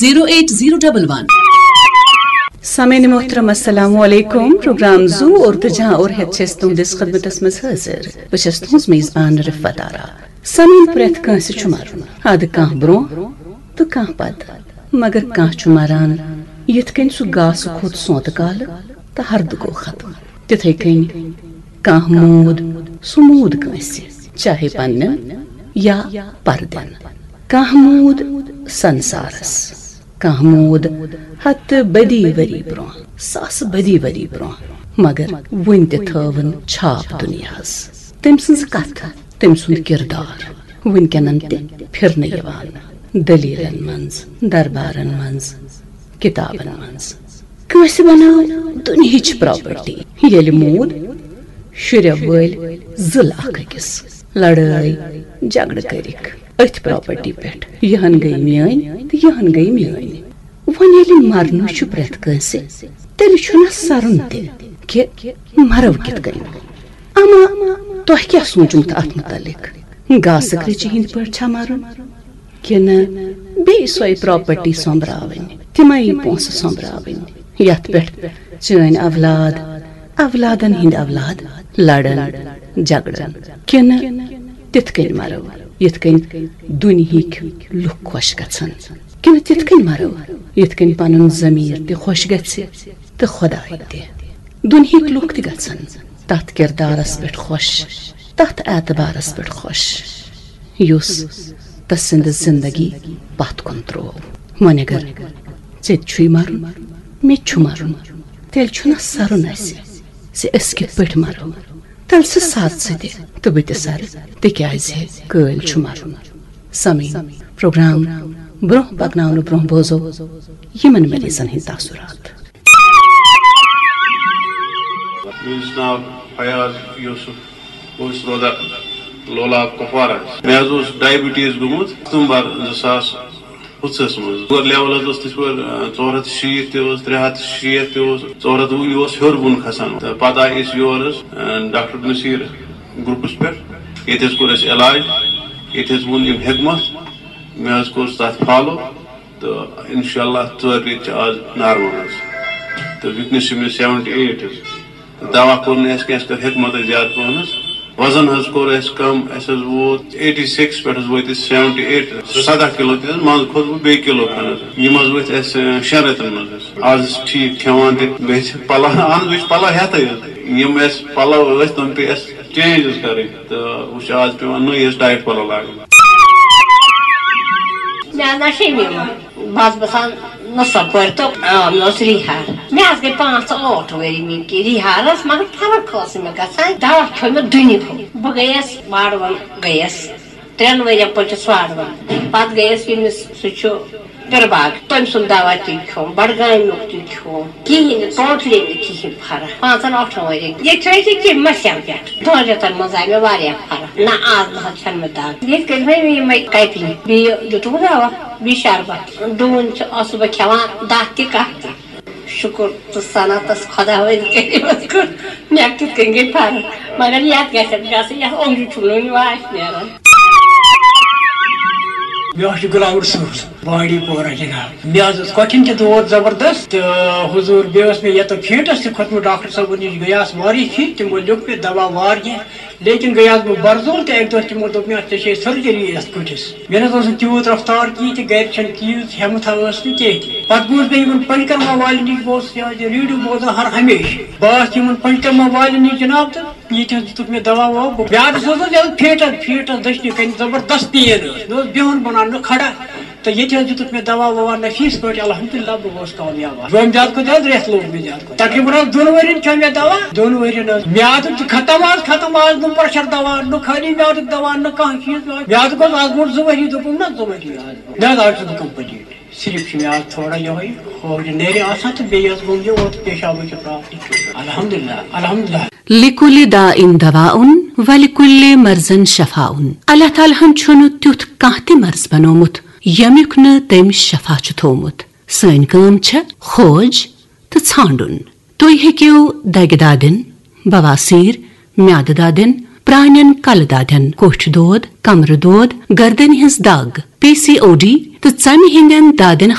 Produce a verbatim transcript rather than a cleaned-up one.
Zero eight zero double ون۔ سامعین محترم، السلام علیکم۔ پروگرام زو اردو جہاں اور ہیت چھس تہنٛدس خدمتس منٛز حٲضِر۔ بہٕ چھس تہنٛز میزبان رفعت آرا۔ سامعین، پرٛٮ۪تھ کٲنٛسہِ چھُ مرُن، ادٕ کانٛہہ برونٛہہ تہٕ کانٛہہ پتہٕ، مگر کانٛہہ چھُ مران یِتھ کٔنۍ سُہ گاسہٕ کھوٚت سونتہٕ کالہٕ تہٕ ہردٕ گوٚو ختم۔ تِتھے کٔنۍ کانٛہہ موٗد، سُہ موٗد کٲنٛسہِ، چاہے پننٮ۪ن یا پردٮ۪ن۔ کانٛہہ موٗد سنسارس، کانٛہہ موٗد ہتہٕ بدی ؤری برونٛہہ، ساسہٕ بدی ؤری برونٛہہ، مگر وُنہِ تہِ تھٲوٕن چھاپ دُنیاہس۔ تٔمۍ سٕنٛز کتھ، تٔمۍ سُنٛد کردار وُنکٮ۪نن تہِ پھرنہٕ یِوان۔ دٔلیٖلن منٛز، دربارن منٛز، کِتابن منٛز۔ کٲنٛسہِ بنٲو دُنہِچ پراپرٹی، ییٚلہِ موٗد شُرٮ۪و وٲلۍ ضلع اکھ أکِس لڑٲے جھگڑٕ کٔرِکھ أتھۍ پراپرٹی پٮ۪ٹھ، یِہن گٔے میٲنۍ تہٕ یِہن گٔے میٲنۍ۔ وۄنۍ ییٚلہِ مرنٕے چھُ پرٛٮ۪تھ کٲنٛسہِ، تیٚلہِ چھُنہ سرُن تہِ کہِ مرو کِتھ کٔنۍ۔ اما تۄہہِ کیٛاہ سوٗنچمُت اتھ متعلق؟ گاسہٕ کرٛیٚچہِ ہٕنٛدۍ پٲٹھۍ چھا مرُن؟ کِنہٕ بیٚیہِ سۄے پراپرٹی سۄمبراوٕنۍ، تِمے پونٛسہٕ سۄمبراوٕنۍ، یتھ پٮ۪ٹھ چٲنۍ اولاد، اولادن ہٕنٛدۍ اولاد لڑن، جھگڑن؟ کِنہٕ تِتھ کٔنۍ مرو، یِتھ کٔنۍ دُنہِکۍ لُکھ خۄش گژھن؟ کِنہٕ تِتھ کٔنۍ مرو، یِتھ کٔنۍ پنُن ضمیٖر تہِ خۄش گژھِ تہٕ خۄداے تہِ؟ دُنہِکۍ لُکھ تہِ گژھن تتھ کردارس پٮ۪ٹھ خۄش، تتھ اعتبارس پٮ۪ٹھ خۄش، یُس تسٕنٛدِ زندگی پتھ کُن تروو۔ وۄنۍ اگر ژےٚ تہِ چھُے مرُن، مےٚ تہِ چھُ مرُن، تیٚلہِ چھُنہ سرُن اسہِ زِ أسۍ کِتھ پٲٹھۍ مرو؟ تیٚلہِ سُہ سر ژٕ تہِ تہٕ بہٕ تہِ سرٕ، تِکیازِ کٲلۍ چھُ مرُن۔ سامعین، پروگرام برونٛہہ پکناونہٕ برونٛہہ بوزو یِمن مریضن ہٕنٛدۍ تاثرات۔ میون ناو فیاض یوسف، بہٕ چھُس روزان لولاب کپوارہ۔ مےٚ حظ اوس ڈائبٹیز گوٚمُت ستمبر زٕ ساس پٕنٛژٕہس منٛز۔ شُگر لیول حظ اوس تِتھ پٲٹھۍ، آ، ژور ہتھ شیٖتھ تہِ اوس، ترٛےٚ ہتھ شیٖتھ تہِ اوس، ژور ہتھ وُہ یہِ اوس ہیوٚر بۄن کھسان۔ تہٕ پتہٕ آے أسۍ یور حظ، آ، ڈاکٹر نصیر گروپس پٮ۪ٹھ۔ ییٚتہِ حظ کوٚر اَسہِ علاج، ییٚتہِ حظ ووٚن أمۍ حکمت، مےٚ حظ کوٚر تتھ فالو۔ تہٕ انشاءاللہ ژورِ رٮ۪تۍ چھِ آز نارمل حظ۔ تہٕ وٕنکیٚنس چھِ مےٚ سیونٹی ایٹ حظ۔ تہٕ دوا کوٚر نہٕ اَسہِ کینٛہہ، اَسہِ کٔر حکمتٕے زیادٕ پہن حظ۔ وزن حظ کوٚر اَسہِ کم، اَسہِ حظ ووت ایٹی سِکِس پٮ۪ٹھ حظ وٲتۍ أسۍ سیونٹی ایٹ، سداہ کِلو تہِ حظ، منٛزٕ کھوٚت بہٕ بیٚیہِ کِلو کھنڈ حظ۔ یِم حظ ؤتھۍ اَسہِ، اَ، شٮ۪ن رٮ۪تن منٛز حظ۔ آز حظ چھِ ٹھیٖک کھٮ۪وان تہِ، بیٚیہِ چھِ پلو، اہن حظ، بیٚیہِ چھِ پلو ہٮ۪تھٕے حظ۔ یِم اَسہِ پلو ٲسۍ، تِم پیٚیہِ اَسہِ چینج حظ کرٕنۍ۔ تہٕ وۄنۍ چھِ آز پٮ۪وان نٔے حظ ٹایٹ پلو لاگٕنۍ۔ مےٚ حظ آسہِ شمیٖمہ، بہٕ حظ بَسان نصب پورِ تہٕ، آ، مےٚ اوس ریٖہار۔ مےٚ حظ گٔے پانٛژھ ٲٹھ ؤری مےٚ کہِ ریٖہارَس، مگر فرق ٲس نہٕ مےٚ گژھان۔ دوا کھیوٚو مےٚ دُنہِ ہُنٛد۔ بہٕ گٔیَس واڑوَن گٔیَس، ترٛٮ۪ن ؤرِین پٔچِس واڑوَن۔ پَتہٕ گٔیَس ییٚمِس، سُہ چھُ پِرباگ، تٔمۍ سُنٛد دوا تہِ کھیوٚم، بڈگامیُک تہِ کھیوٚم، کِہیٖنۍ نہٕ، ٹوٹلی نہٕ کِہیٖنۍ فرق۔ پانٛژن ٲٹھن ؤرین ییٚتہِ چھِ أسۍ یہِ کِمہِ مسیل پٮ۪ٹھ۔ دۄن رٮ۪تن منٛز آیہِ مےٚ واریاہ فرق۔ نہ، آز نہ حظ چھَنہٕ مےٚ دگ۔ ییٚتہِ کٔرۍ مےٚ یِمے کیپِنگ، بیٚیہِ دیُتُکھ دوا، بیٚیہِ شربت، ڈوٗنۍ چھِ، ٲسٕس بہٕ کھٮ۪وان دَہ تہِ کاہ تہِ۔ شُکُر تہٕ صنعتس خۄداوندِ کٔرِمس کُن، مےٚ کِتھ کٔنۍ گٔے فرق۔ مگر یتھ گژھِ گژھٕنۍ، یتھ اوٚنٛگجہِ چھُم نہٕ وُنہِ واش نیران۔ مےٚ حظ چھُ غلام رسول، بانڈی پورہ جناب۔ مےٚ حظ اوس کۄٹھٮ۪ن تہِ دود زبردست، تہٕ حضور، بیٚیہِ اوس مےٚ ییٚتہِ فیٹس تہِ کھوٚتمُت ڈاکٹر صٲبن نِش، گٔیاس واریاہ پھِرِ، تِمو لیوٚکھ مےٚ دوا واریاہ، لیکن گٔیاس بہٕ برزول تہٕ اَکہِ دۄہ تِمو دوٚپ مےٚ، ژےٚ چھے سرجری یتھ کُٹھِس۔ مےٚ نہ حظ اوس نہٕ تیوٗت رفتار کِہیٖنۍ تہِ، گرِ چھَنہٕ تیٖژ ہٮ۪متھا ٲس نہٕ کینٛہہ تہِ۔ پتہٕ بوٗز مےٚ یِمن پنچکرما والٮ۪ن نِش، بہٕ اوسُس یہِ حظ یہِ ریڈیو بوزان ہر ہمیشہِ۔ بہٕ آس یِمن پنچکرما والٮ۪ن نِش جناب، تہٕ ییٚتہِ حظ دیُتُکھ مےٚ دوا ووا، بہٕ میٛادَس اوس حظ یَلہٕ فیٹَس، فیٹَس دٔچھنہِ کَنہِ زبردست پین ٲس، مےٚ اوس بِہُن بَنان نہٕ کھڑا۔ تہٕ ییٚتہِ حظ دیُتُکھ مےٚ دوا ووا نفیٖس پٲٹھۍ، الحمدللہ بہٕ گوس کامیاب۔ یوم زیادٕ کھۄتہٕ زیادٕ رٮ۪تھ لوٚگ مےٚ زیادٕ کھۄتہٕ۔ تقریٖباً حظ دۄن ؤرِین کھیوٚو مےٚ دوا، دۄن ؤرِین حظ۔ میٛادُک تہِ ختم حظ، ختم آز نہٕ پرٛٮ۪شَر دوا، نہٕ خٲلی میٛادُک دوا، نہٕ کانٛہہ چیٖز۔ میٛادُک اوس آز برونٛٹھ زٕ ؤری، دوٚپُم نہ زٕ ؤری آز۔ مےٚ حظ آز چھُس بہٕ کمپلیٖٹ۔ صرف چھِ مےٚ آز تھوڑا یِہوٚے کھوورِ نَرِ آسان تہٕ بیٚیہِ حظ گوٚم یہِ اوترٕ پیشابٕچ پرابلم۔ الحمدللہ، الحمدللہ۔ لِکُلہِ داء دواء ولِکُلہِ مرضن شفاء۔ اللہ تعالیٰ ہن چھُنہٕ تیُتھ کانٛہہ تہِ مرض بنوومُت ییٚمیُک نہٕ تٔمۍ شفا چھُ تھوومُت۔ سٲنۍ کٲم چھےٚ کھوج تہٕ ژھانٛڈُن۔ تُہۍ ہیٚکِو دگہِ دادٮ۪ن، بواسیر، میادٕ دادٮ۪ن، پرٛانٮ۪ن کلہٕ دادٮ۪ن، کوٹھۍ دود، کمرٕ دود، گردنہِ ہٕنٛز دگ، پی سی او ڈی تہٕ ژمہِ ہٕنٛدٮ۪ن دادٮ۪ن